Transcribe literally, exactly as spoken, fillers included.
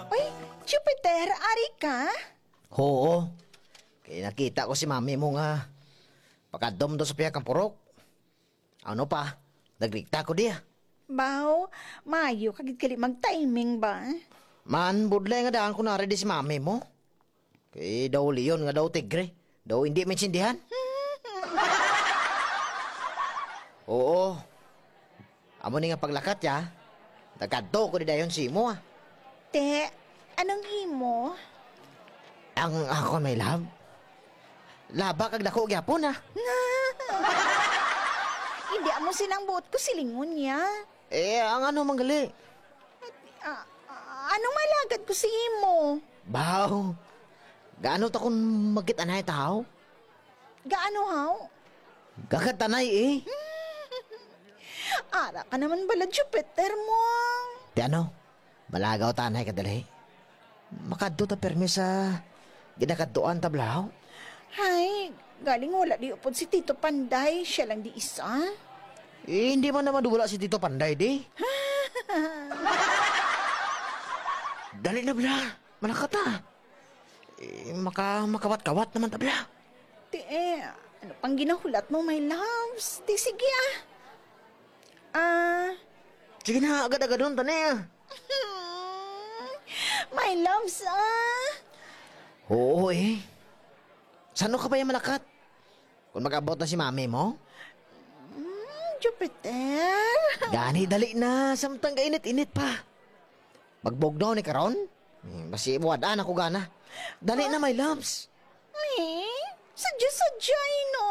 Uy, Jupiter, ari ka? Oo. Kay nakita ko si mami mo nga pakadto man daw sa pihak kang purok. Ano pa? Naglikta ko diya. Baw, maayo ka gid gali mag-timing ba? Man, budlay nga daan ko nari di si mami mo. Kay daw leon nga daw tigre. Daw hindi maintindihan. Oo. Amo ni nga paglakat ya. Nagkadto ko di dayon si imo, ah. Te, anong imo? Ang ako, my love. Laba kag dako gyapon, ah. Hindi amo sinang buot ko silingon niya. Eh, ang ano man gali? Ah, ah, anong malagad ko sa imo? Baw, gaano ta kung magkita na tao? Gaano, haw? Gakatanay, eh. Ara ka naman bala, Jupiter mo. Ti ano? Malagaw tanay ka dali. Makadto ta permi sa ginakadtuan ta, blaw. Hay, galing wala di upod si Tito Panday, siya lang di isa. Eh, hindi man naman wala si Tito Panday, di. Dali na, bla. Malakata. Eh, maka, makawat-kawat naman ta, bla. Ti, eh, ano pang ginahulat mo, my loves? Ti, sige, ah. Ah. Sige na, agad-agadon ta na, ah. My loves, ah. Oo, eh. Sano ka pa yung malakat? Kung mag-abot na si mami mo? Mm, Jupiter. Gani, dali na. Samtang kainit-init pa. Magbugnaw ni karon? Hmm, basi buwadaan ako gana. Dali na, my loves. Eh, sadya-sadya, eh, no?